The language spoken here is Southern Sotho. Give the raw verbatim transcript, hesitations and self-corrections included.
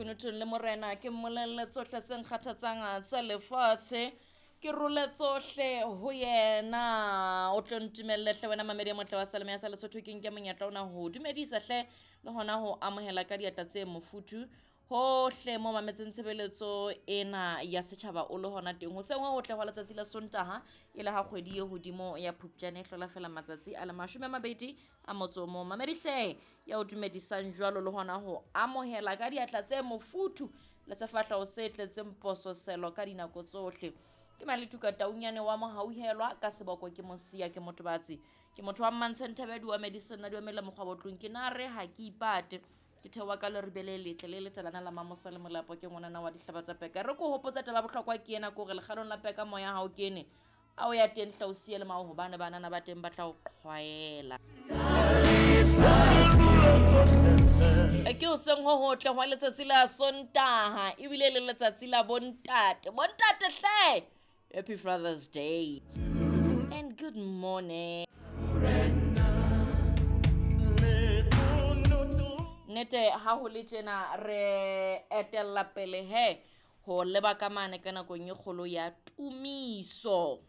lekunutung le morena, ke mmolelle tsohle tse nkgathatsang tsa lefatshe, ke role tsohle ho yena. O tlo ntumelle hle wena mamedi e motle wa Salome ya sa Lesotho, ke nke monyetla ona ho dumedisa hle le hona ho amohela ka diatla tse mofuthu hohle mo mametseng tshebeletso ena ya setjhaba o le hona teng. Hoseng ho hotle hwa letsatsi la Sontaha, e le ha kgwedi e hodimo ya Phupjane e hlola fela matsatsi a le mashome a mabedi a motso o mong. Mamedi hle ya o dumedisang jwalo le hona ho amohela ka diatla tse mofuthu le sefahleho se tletseng pososelo ka dinako tsohle. Ke Maletuka Taunyane wa Mohauhelwa, ka seboko ke Mosia, ke motobatsi, ke motho wa Mmantshe Nthabedi wa Medicine di omele mokgwa botlong, ke na re ha ke ipate. Ke theoha ka leribe le letle le letalana la Mamosa le Molapo, ke ngwanana wa dihlaba tsa peka. Re ko hopotsa taba bohlokwa ke ena, ke hore lekgalong la peka moya ha o kene, a o ya teng hle o siye le mao, hobane banana ba teng ba tla o qhwaela. Ke hoseng ho hotle hwa letsatsi la Sontaha, ebile le letsatsi la bontate. Bontate hle! Happy Father's Day and good morning. Nnete ha ho le tjena re etella pele he ho leba ka mane ka nakong e kgolo ya tumiso.